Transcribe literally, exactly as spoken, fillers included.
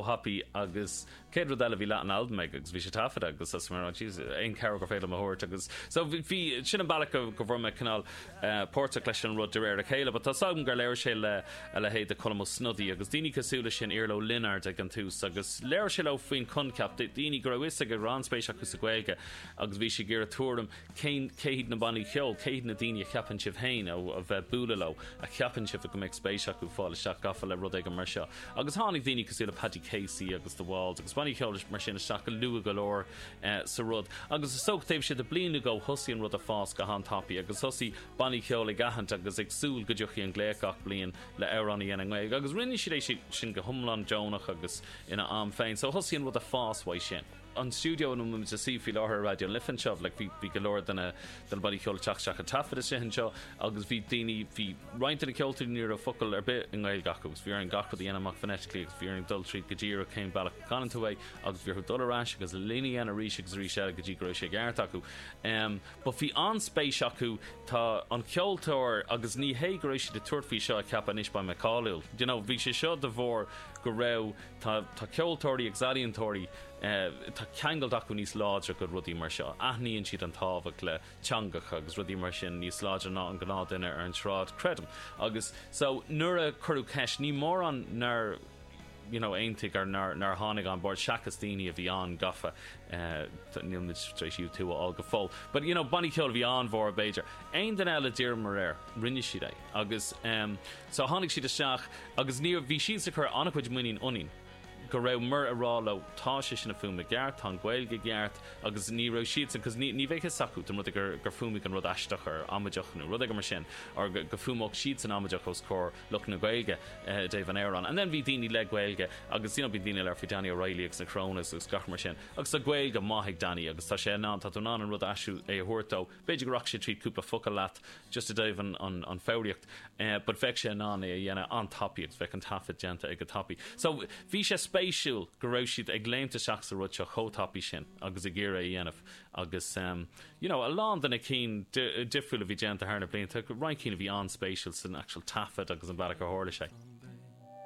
chomh tapaidh agus céad rud eile bhí leath an albam aige agus bhí sé taifeadta agus as mar aon cabhair gur féidir a thabhairt agus so bhí sin an bealach go go bhfuair mé cineál uh, páirteach leis an rud de réir a chéile, but tá agam gur labhair sé le a leithéid de Colm Ó Snodaigh agus daoine cosúil leis sin Iarla Ó Lionáird ag an tús agus labhair sé leo faoin coincheap daoine go raibh fhios go raibh an-spéis acu sa Ghaeilge agus bhí sé ag iarraidh tuairim cén cé hiad na bannaí ceoil, cé hiad na daoine a cheapann sibh féin ó a bheith bualadh leo a cheapann sibh go mbeadh spéis acu fáil isteach gafa le rud éigin mar seo. Agus tháinig daoine cosúil le Paddy Casey agus The Walls agus bannaí ceoil mar sin isteach go luath go leor eh, sa rud. Agus is dócha taobh siad a bliana go thosaigh an rud ag fás go han-tapaidh agus thosaigh bannaí ceoil ag aithint agus ag súil go dtiocfaidh an glaoch gach bliain le amhrán a dhéanamh i nGaeilge, agus rinne siad é sin go hiomlán deonach agus ina am féin, so thosaigh an rud ag fás uaidh sin. An stiúideo ina bhfuil muid faoi láthair Raidió na Life anseo, like, bhí bhí go leor de na de na bannaí ceoil teacht isteach ag taifead istigh anseo agus bhí daoine bhí roinnt de na ceoltóirí ní raibh focal ar bith i nGaeilge acu agus bhí orainn gach rud a dhéanamh amach phonetically agus bhí orainn dul tríd go díreach cén bealach a canann tú é agus bhí orthu dul ar ais agus líne a dhéanamh arís agus arís eile go dtí go raibh sé ceart acu. Um, but bhí an-spéis acu tá an ceoltóir agus ní hé go raibh siad ag tabhairt faoi seo a ceapadh anois beidh mé cáiliúil. You know, bhí sé seo de bharr go raibh tá, tá ceoltóirí agus ealaíontóirí eh, tá ceangal acu níos láidre go rudaí mar seo. Aithníonn siad an tábhacht le teangacha agus rudaí mar sin níos láidre ná an gnáthduine ar an tsráid creidim. Agus so nuair a cuireadh ceist ní mórán nár you know, aontaigh ar nár nár tháinig an bord seachas daoine a bhí an-gafa uh, níl muid tar éis tú a fháil go fóill. But you know, bannaí ceoil bhí an-mhór b'fhéidir. Aon duine eile d'iarramar air, rinne siad é. Agus um, so tháinig siad isteach agus ní bhí siad ag cur an-chuid muinín ionainn go rabhamar ag rá leo tá sé sin ag fuaimniú ceart, tá an Ghaeilge ceart agus ní raibh siad cos ní ní bheadh fhios acu don rud gur gur fuaimigh an rud aisteach ar amaideach nó rud mar sin or go, go fuaimeodh siad san amaideach os comhair lucht na Gaeilge uh, Dave an Aaron. And then bhí daoine le Gaeilge agus you know, bhí daoine le faoi Danny O'Reilly agus na Crónas agus gach mar sin. Agus tá Gaeilge maith ag Danny agus tá sé ná tá tú ná an rud aisiú é a thuirtó. B'fhéidir go raibh sé trí cúpla focal leat just i dtaobh an, an, an foghraíocht, uh, but bheadh sé ná é a dhéanamh an-tapaidh agus bheadh an taifead déanta ag go tapaidh. So bhí sé spéisiúil go raibh siad ag léimt isteach sa rud seo chomh tapaidh sin agus ag iarraidh a dhéanamh agus um, you know, a lán de na cinn difriúil a bhí déanta thar na blianta, roinnt cinn a bhí an-spéisiúil san actual taifead agus an bealach a tharla sé.